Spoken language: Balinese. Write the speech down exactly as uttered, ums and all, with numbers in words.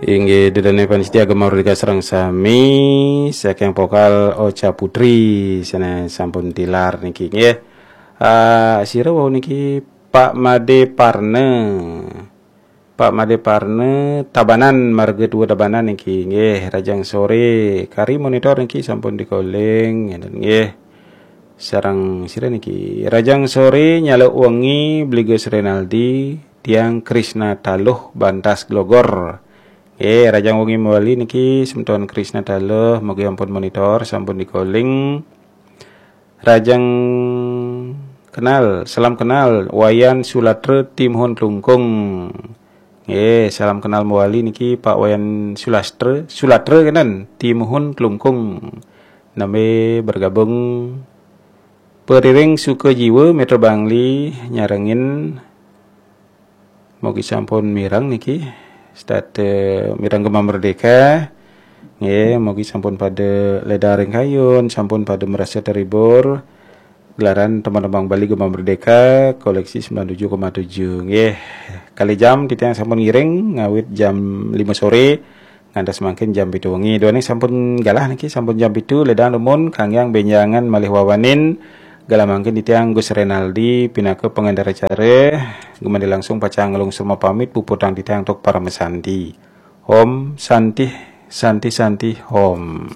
Inggih, ida dané panitia Gema Merdeka sareng sami, saking vokal Ocha Putri, sané sampun tilar niki nggih. Ah, sira wau niki Pak Made Parne. Pak Made Parne Tabanan, marga dua Tabanan niki nggih, rahajeng soré. Kari monitor niki sampun dikoling ngéten nggih. Sareng sira niki. Rahajeng soré nyaluk wengi Bli Gus Renaldi, tiang Krisna Taluh Bantas Glogor. Nggih, rahajeng wengi mawali niki semeton Krisna Taluh, mugi ampun monitor, sampun dikoling. Rahajeng kenal, salam kenal Wayan Sulatra Timuhun Klungkung. Nggih, salam kenal mawali niki Pak Wayan Sulastra, Sulatra kenen Timuhun Klungkung. Nami bergabung. Periring Suka Jiwa Metro Bangli nyarengin. Mugi sampun mireng niki start, eh, mireng Gema Merdeka. Nggih, mugi sampun pada ledang ring kayun, sampun pada merasa terhibur. Gelaran tembang-tembang Bali Gema Merdeka koleksi sembilan tujuh koma tujuh. Nggih, kali jam titiang sampun ngiring ngawit jam lima sore ngantos mangkin jam pitu wengi. Duaning sampun galah niki, sampun jam pitu, ledang dumun, kanggiang benjangan malih wawanin. Galah mangkin titiang Gus Renaldi pinaka pangenter acara. Gumanti langsung pacang nglungsur mapamit, puputang titiang antuk paramasanti. Om Santih, Santih, Santih, Om.